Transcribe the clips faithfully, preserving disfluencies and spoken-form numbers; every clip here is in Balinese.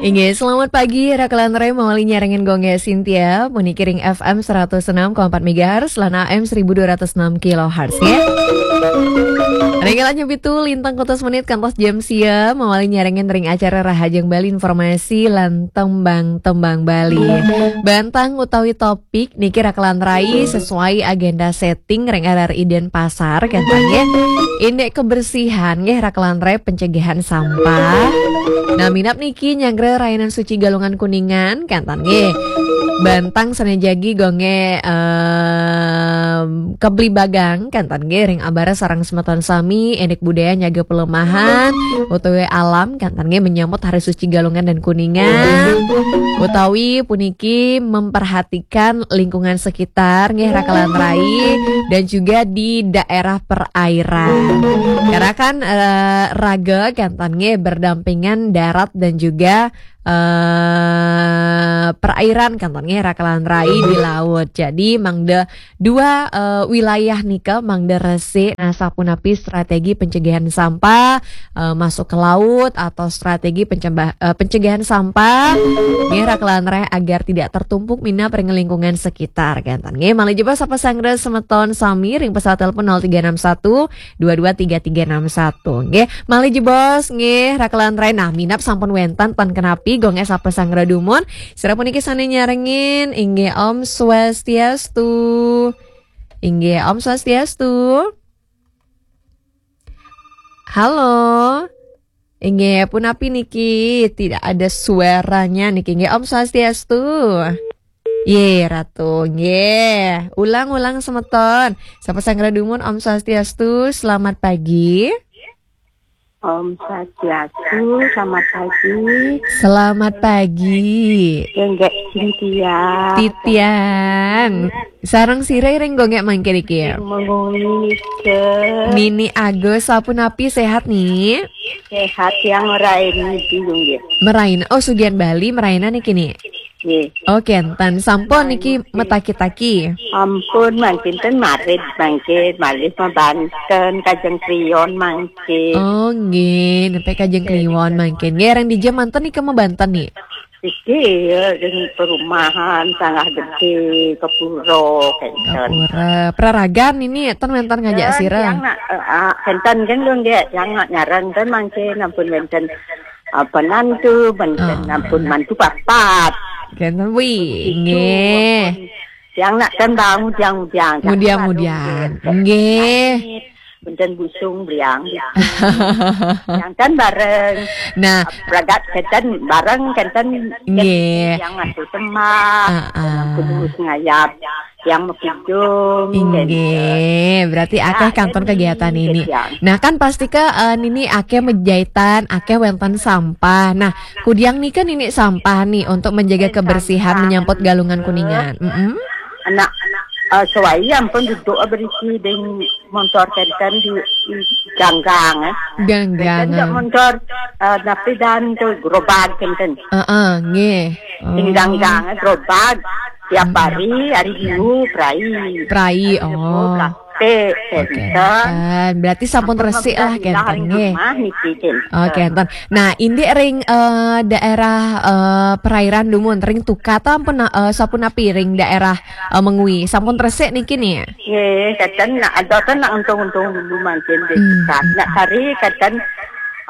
Inggih, selamat pagi, Raka lan Rai, mawali nyarengin Gong Cynthia, puniki ring F M seratus enam koma empat megahertz, lan A M seribu dua ratus enam kilohertz, ya. Ring kalih pitu lintang kutus menit kantos jam sia, mawali nyarengin ring acara Rahajeng Bali, informasi lan tembang-tembang Bali. Bantang utawi topik niki Raka lan Rai sesuai agenda setting ring R R I Denpasar, kenten nggih. Indik kebersihan nggih Raka lan Rai, pencegahan sampah. Nah, minab niki nyanggra rainan suci Galungan Kuningan, kenten nggih. Bantang sane jagi gongge, em, keblibagang, kenten nggih, ring abara sareng semeton sami, indik budaya nyaga pelemahan utawi alam, kenten nggih, menyambut Hari Suci Galungan dan Kuningan, utawi puniki memperhatikan lingkungan sekitar nggih Raka lan Rai, dan juga di daerah perairan. Karena kan, eh, raga kenten nggih berdampingan darat dan juga eh perairan kenten nggih Raka lan Rai, di laut. Jadi mangda dua, eh, wilayah nika mangda resik. Nah, sapunapi strategi pencegahan sampah, eh, masuk ke laut atau strategi pencemba- eh, pencegahan sampah nggih Raka lan Rai agar tidak tertumpuk minab ring lingkungan sekitar, kenten nggih. Malih jebos sapa sanggra semeton sami ring pesawat telepon nol tiga enam satu dua dua tiga tiga enam satu. Nggih, malih jebos nggih Raka lan Rai. Nah, minab sampun wenten, ten kenapi, gongge sapa sanggra dumun. Sira puniki sane nyarengin, inggih Om Swastiastu. Inggih Om Swastiastu. Halo. Inggih, punapi niki? Tidak ada suaranya niki. Inggih Om Swastiastu. Ye, Ratu. Nggih, ulang-ulang semeton. Sapa sanggra dumun, Om Swastiastu, selamat pagi. Om Swastiastu, selamat pagi. Selamat pagi. Gongge Cynthia. Titiang. Sareng sira ring gongge mangkin iki? Menguni ke. Nini Agus, sapunapi, sehat, Ni? Sehat, yang merain niki, nggih. Merain. Oh, sugihan Bali, merainan niki, Ni? Nggih. Oh, kenten. Sampun niki metaki-taki. Ampun, mangkin ten marit, mangkin malih mabanten, Kajeng Kliwon mangkin. Oh, nggih, nepi Kajeng Kliwon mangkin. Nggih, ring dija manten nika mabanten, Ni? Iki ya, ring perumahan, Sanggah Gede, Kepuro, kenten. Kepuro. Praragan niki, ten wenten ngajak sira? Yang nak, eh, ah, kenten kan, nggih, yang nak nyarengin mangkin, ampun wenten, apa, nantu, mantu, ampun, mantu papat. Kenten, wi, nggih. Yang nak kan bang, yang, yang, mudiang-mudiang. Nggih. Benten busung, briang. Yang kan bareng. Nah. Pragat kenten bareng, kenten, nggih, yang mantu semak, ah, ah, yang kudu ngayap, yang mekidung, inggih, kenten. Berarti akeh kantun kegiatan ini. Nah, kan pasti ke, eh, nini akeh mejahitan, akeh wenten sampah. Nah, kudiang nika nini sampah nih untuk menjaga kebersihan, menyambut Galungan Kuningan. Mm-mm. Anak, eh, suai ampun duduk berisi ding montor kenten di, di ganggang, eh. Ganggang. Kenten montor, eh, napi dan tu gerobak kenten. Heeh, nggih. Di ganggang, eh, gerobak. Tiap hari, hari Minggu, perai. Perai, oh. Plastik, oke, kenten. Berarti sampun resik lah, kenten, nggih. Oke, kenten. Nah, indik ring, eh, daerah, eh, perairan dumun, ring Tukat ampun, eh, sapunapi ring daerah, eh, Mengwi. Sampun resik niki, Ni? Nggih, kenten nak ada kan nak untung-untung dulu mangkin di Tukat. Nak kari kenten,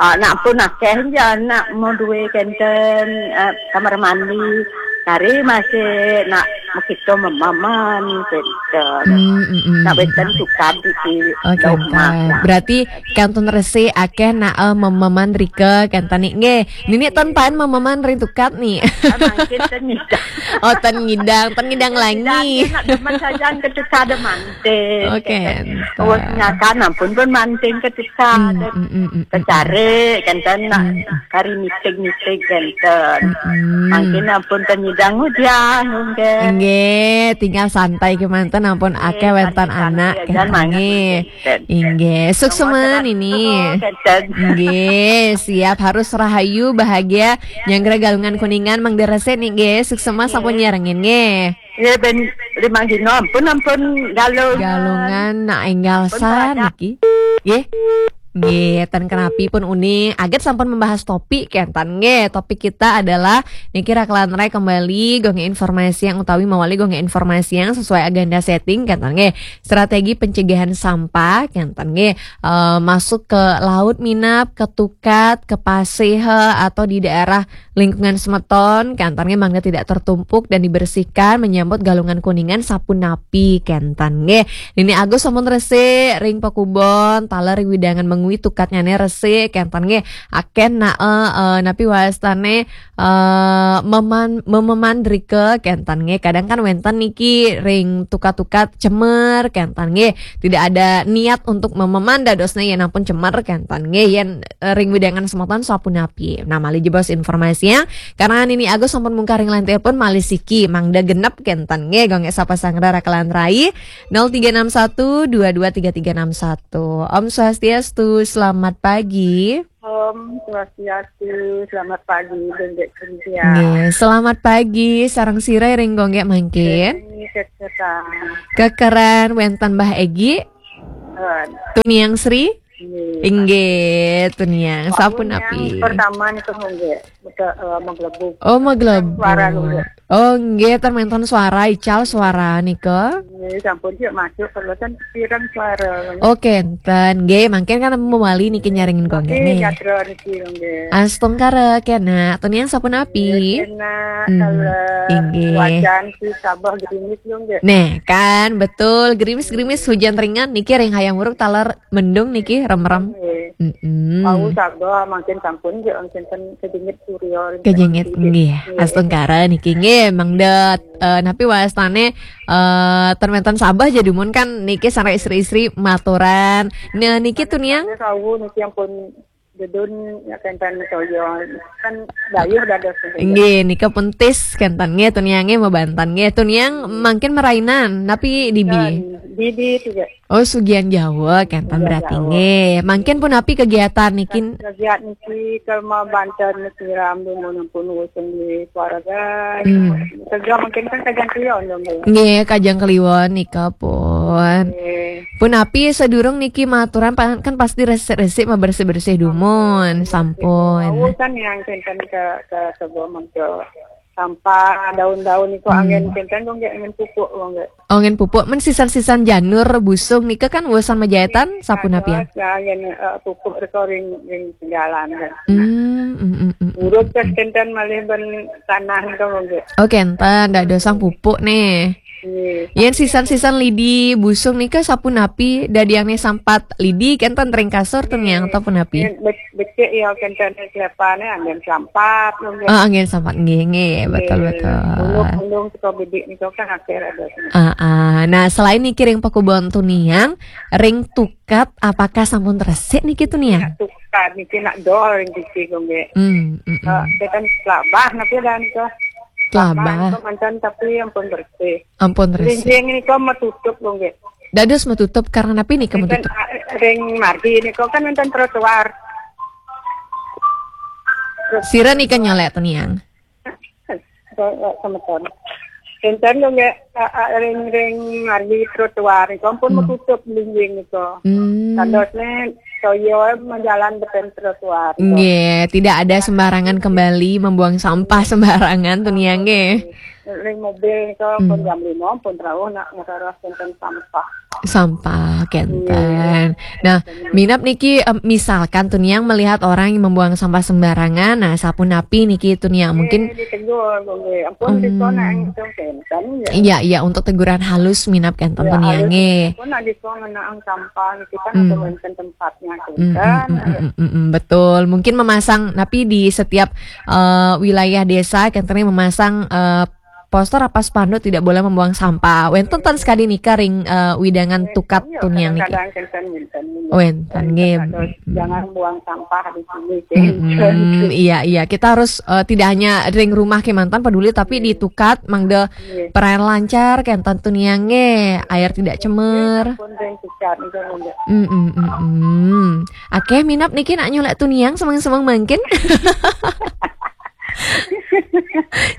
eh, nak pun akeh ja nak mau duwe kenten, eh, kamar mandi. Kari masih nak mekito memaman kenten. Hmm, hmm, hmm. Nak wenten Tukat di, di rumah. Oke, kenten. Berarti kantun resik akeh nak, eh, memaman rika kenten, Ni, nggih. Nini ten paen memaman ring Tukat, Ni? Ah, mangkin ten ngidang. Oh, ten ngidang, ten ngidang langi. Ngidang, nak demen sajan ke Tukat ada manting. Oke, kenten. Terus nyakan ampun pun manting ke Tukat. Hmm, hmm, hmm, hmm. Kecari kenten nak kari miting-miting kenten. Hmm. Mangkin ampun ten ngidang udiang, nggih. Nggih, tinggal santai kemanten ampun akeh wenten anak kenten, nggih. Inggih, suksema nini. Inggih, siap, harus rahayu, bahagia, nyanggra Galungan Kuningan, mangda resik, Ni, nggih. Suksema sampun nyarengin, nggih. Nggih, ben limang dina ampun, ampun Galungan. Galungan nak enggal saniki. Nggih. Nggih, ten kenapi pun uning. Aget sampun membahas topik, kenten nggih. Topik kita adalah niki rakelan rai kembali, gonge informasi yang utawi mawali gonge informasi yang sesuai agenda setting, kenten nggih. Strategi pencegahan sampah, kenten nggih. Eh, masuk ke laut minap, ke tukat, ke pasih, atau di daerah lingkungan semeton, kenten nggih, mangda tidak tertumpuk dan dibersihkan, menyambut galungan kuningan sapunapi, kenten nggih. Nini Agus sampun resik ring pakubon, taler ring wewidangan mengwi tukatnyane resik, kenten nggih. Aken nae, eh, napi wastane, eh, meman-, mememandrika, kenten nggih. Kadang kan wenten niki ring tukat-tukat cemer, kenten nggih. Tidak ada niat untuk mememan dadosne yen ampun cemer, kenten nggih. Yen, eh, ring wewidangan semeton sapunapi. Nah, malih jebos informasi ya. Karena nini Agus sampun mungkar ring line telepon, malih siki mangda genep, kenten nggih, gonge sapa sangra rakelan rai. Nol tiga enam satu dua dua tiga tiga enam satu. Om Swastiastu, selamat pagi. Om Swastiastu, selamat pagi, Dendek Cynthia. Nggih, selamat pagi, sareng sira ring gonge mangkin? Ini keketang. Kekeran, wenten Mbah Egi? Kan. Tuniang Sri? Nggih. Inggih, Tuniang. Sapunapi? Pertama nih, nggih. Betul, eh, menggelebuk. Oh, menggelebuk. Suara dulu. Oh, nggih, ten wenten suara, ical suara nika. Nggih, sampun sik masuk, kalau ten pirang suara. Oh, kenten. Nggih, mangkin kan mawali niki nyarengin gonge nggih, nggih. Gatra niki, nggih. Astungkara kena, Tuniang sapunapi? Nggih, kena, hmm, kalau inggih. Wajan si Sabah gerimis lho, nggih. Neh, kan, betul. Gerimis-gerimis hujan ringan niki ring Hayam Wuruk taler mendung niki, remrem. Nggih. Mm-mm. Wau Sabah mangkin sampun nggih, mangkin ten kejengit surya, kejengit, nggih. Nggih. Astungkara niki nggih, mangda, eh, napi wastane, eh, ten wenten Sabah ja dumun kan niki sareng istri-istri maturan. Nah, niki Tuniang? Wau niki ampun dedun ya kenten toya. Kan dayuh dados nggih. Nggih, nika pun tis kenten nggih, Tuniang nggih, mabanten nggih. Tuniang mangkin marainan, napi dibi? Kan, dibi juga. Oh, Sugian Jawa, kenten. Sugian berarti Jawa. Nggih. Mangkin punapi kegiatan niki? Kegiatan niki ke mabanten niki rambu pun wis nggih keluarga. Hmm. Kerja mungkin kan kajang kliwon dong, nggih. Nggih, kajang kliwon nika pun. Nggih. Punapi sadurung niki maturan pa-, kan pasti resik-resik, mabersih-bersih dumun, sampun. Oh, kan yang kenten ke, ke sebuah mangga. Sampah, daun-daun niku, hmm, angin kenten, kok nggih, angin pupuk, kok nggih. Oh, angin pupuk, men sisan-sisan janur, busung, nika kan wusan majaetan, sapunapian? Dados, ya, angin, eh, pupuk reka ring, ring jalan, kan. Hmm, hmm, hmm, hmm, hmm. Urut, kan, kenten malih ben tanah, kok nggih. Oh, kenten, dadosang pupuk, nih. Nggih. Yen sisan-sisan lidi, busung, nika sapunapi, dadiangne sampat lidi, kenten ring kasur, ten yang, nggih, atau punapi? Nggih, be-, becik ya, kenten siapane, angin sampat, kok nggih. Oh, angin sampat, nggih, nggih, betul, nggih, betul. Ulung-ulung saka bidik nika kan akhir ada. Ah, ah. Nah, selain niki ring pakubon Tuniang, ring tukat apakah sampun resik niki Tuniang? Nak tukat niki nak dol ring niki kok nggih. Hmm, hmm, hmm. Eh, kita telabah napa dah nika? Telabah. Telabah nika manten tapi ampun bersih. Ampun resik. Linjing nika metutup kok nggih. Dados metutup karena napi nika metutup? Enten, eh, ring margi nika kan enten trotoar. Terus sira nika nyelek Tuniang? Semeton. Enten lho nggih, a-, a-, ring-ring margi trotoar nika ampun, hmm, metutup linjing nika. Hmm. Dadosne toya majalan beten trotoar nika. Nggih, tidak ada sembarangan kembali membuang sampah sembarangan Tuniang nggih. Ring mobil nika ampun, hmm, jam lima ampun rauh nak ngeroros enten sampah. Sampah, kenten. Iya. Nah, minap niki, em, misalkan Tuniang melihat orang yang membuang sampah sembarangan, nah, sapunapi niki Tuniang? Mungkin, eh, ditegur, nggih. Ampun, hmm, dikon nang itu kenten, ya. Iya, iya, untuk teguran halus minap kenten, ya, Tuniang, halus, nggih. Ampun, nak dikon ngenang sampah, kita, hmm, nggak mungkin tempatnya, hmm, kenten, hmm, hmm, ya. Hmm, hmm, hmm, hmm, betul. Mungkin memasang, tapi di setiap, eh, wilayah desa, kenten memasang, eh, poster apa spanduk tidak boleh membuang sampah. Wenten ten sekadi nika ring, eh, wewidangan tukat Tuniang niki? Kadang-kadang wenten, wenten. Wenten, nggih. Jangan buang sampah di sini, hmm, iya, iya. Kita harus, eh, tidak hanya ring rumah kemanten peduli, tapi di tukat mangda, nggih, peranan lancar kenten Tuniang nggih. Air tidak cemar. Pun ring tukat itu, nggih. Mm, mm, mm, mm. Akeh minap niki nak nyulek Tuniang semeng-semeng mangkin.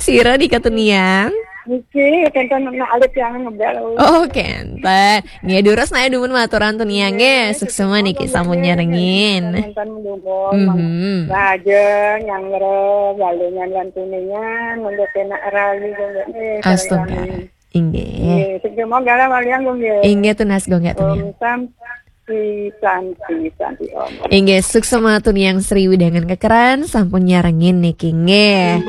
Sira nika Tuniang? Niki, kenten nak alit yang ngebel. Oh, kenten. Nggih, durus nae dumun maturan tuniang nggih. Suksma niki sampun nyarengin. Kenten dumun. Mhm. Raja nyanggra galungan lan kuningan, monggo kena rayu nggih. Astaga. Inggih. Nggih, sing mau galah walian nggih. Inggih tunas Gung Gek Tuniang. Om Santi, Santi, Santi Om. Inggih, suksma tuniang Sri Widangan Kekeran sampun nyarengin niki nggih.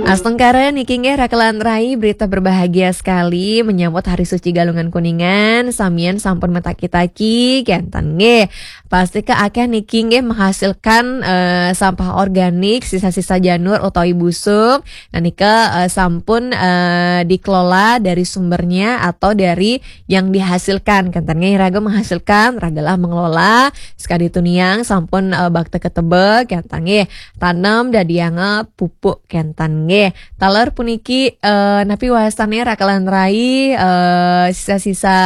Astungkara niki nggih rakelan rai, berita berbahagia sekali menyambut Hari Suci Galungan Kuningan. Samian sampun metaki-taki kenten nggih. Pasti ke akeh niki nggih menghasilkan eh, sampah organik, sisa-sisa janur utawi busuk. Nah, nika eh, sampun eh, dikelola dari sumbernya atau dari yang dihasilkan kenten nggih. Raga menghasilkan, ragalah mengelola. Sekadi tuniang sampun eh, bakta ketebek kenten nggih. Tanem dadianga pupuk kenten nggih. Taler puniki eh, napi wastane rakelan rai eh, sisa-sisa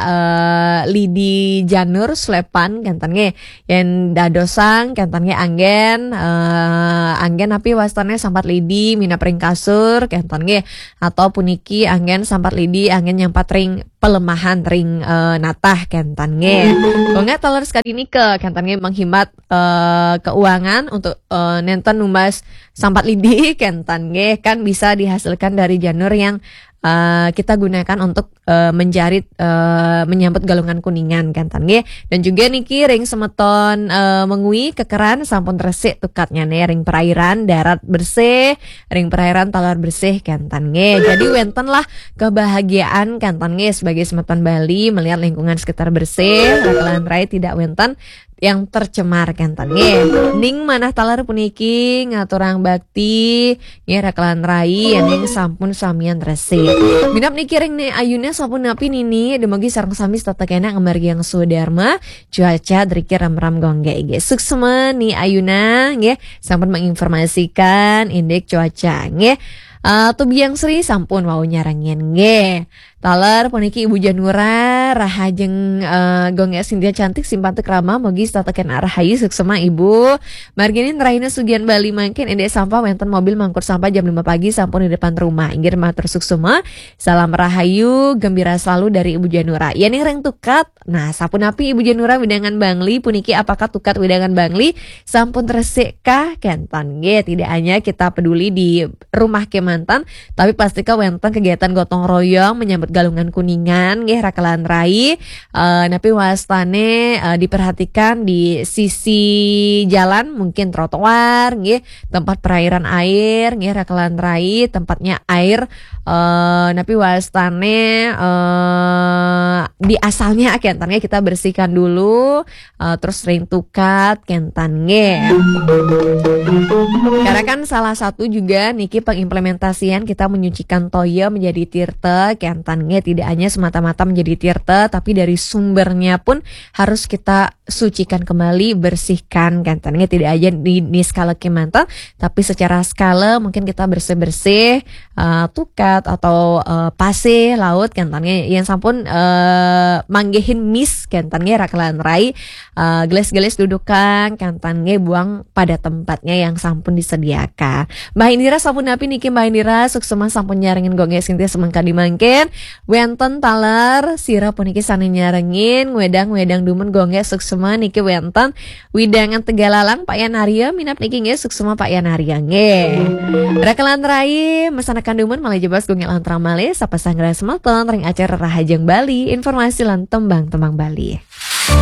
eh, lidi janur sulepan kenten nggih. Yen dadosang kenten nggih anggen eh, anggen napi wastane sampat lidi minap ring kasur kenten nggih. Atau puniki anggen sampat lidi anggen nyampat ring pelemahan ring eh, natah kenten nggih. Gung Gek taler sekadi nika kenten nggih menghemat eh, keuangan untuk eh, nenten numbas sampat lidi kenten nggih kan bisa dihasilkan dari janur yang eh, kita gunakan untuk eh, menjarit eh, menyambut galungan kuningan kenten nggih. Dan juga niki ring semeton eh, Mengwi Kekeran sampun resik tukatnya nih ring perairan darat bersih, ring perairan taler bersih kenten nggih. Jadi wenten lah kebahagiaan kenten nggih sebagai semeton Bali melihat lingkungan sekitar bersih, rakelan rai tidak wenten yang tercemar kenten nggih. Ning manah taler puniki ngaturang bakti nggih rakelan rai yen ning sampun samian resik. Minap niki ring Ni Ayuna sampun napi nini, dumugi sareng sami setata kena ngemargi yang swadharma, cuaca driki ram-ram Gung Gek nggih. Suksma Ni Ayuna nggih sampun menginformasikan indik cuaca nggih. Eh, Tubiang Sri sampun wau nyarengin nggih. Taler puniki Ibu Janura, rahajeng eh, Gung Gek Sintia cantik simpan tu krama, mugi setata kena rahayu suksma Ibu. Marginin rahina sugian Bali mangkin indik sampah wenten mobil mangkut sampah jam lima pagi sampun di depan rumah. Inggih matur suksma. Salam rahayu, gembira selalu dari Ibu Janura. Yen ring tukat, nah sapunapi Ibu Janura wedangan Bangli puniki apakah tukat wedangan Bangli sampun resik kah kenten nggih. Tidak hanya kita peduli di rumah kemanten, tapi pasti ke wenten kegiatan gotong royong menyambut galungan kuningan nggih rakelan rai. Eh, napi wastane eh, diperhatikan di sisi jalan mungkin trotoar nggih, tempat perairan air nggih rakelan rai, tempatnya air eh, napi wastane eh, di asalnya kenten nggih kita bersihkan dulu eh, terus ring tukat kenten nggih. Karena kan salah satu juga niki pengimplementasian kita menyucikan toya menjadi tirta kenten nggih, tidak hanya semata-mata menjadi tirta tapi dari sumbernya pun harus kita sucikan kembali, bersihkan kenten nggih, tidak aja di, di skala kemanten tapi secara skala mungkin kita bersih-bersih eh, tukat atau eh, pasih laut kenten nggih yang sampun eh, manggihin mis kenten nggih rakelan rai. Eh, gelis-gelis dudukan kenten nggih buang pada tempatnya yang sampun disediakan. Mbah Indira sampun napi niki Mbah Indira suksma sampun nyarengin Gung Gek Sintia semengkadi mangkin. Wenten taler sira puniki sane nyarengin wedang-wedang dumun Gung Gek suksma niki wenten wedangan Tegalalang Pak Yan Arya minap niki nggih suksma Pak Yan Arya nggih. Rakelan rai mesanakan dumun malih jebos Gung Gek lantrang malih sapa sanggra semeton ring acara Rahajeng Bali, informasi lan tembang-tembang Bali.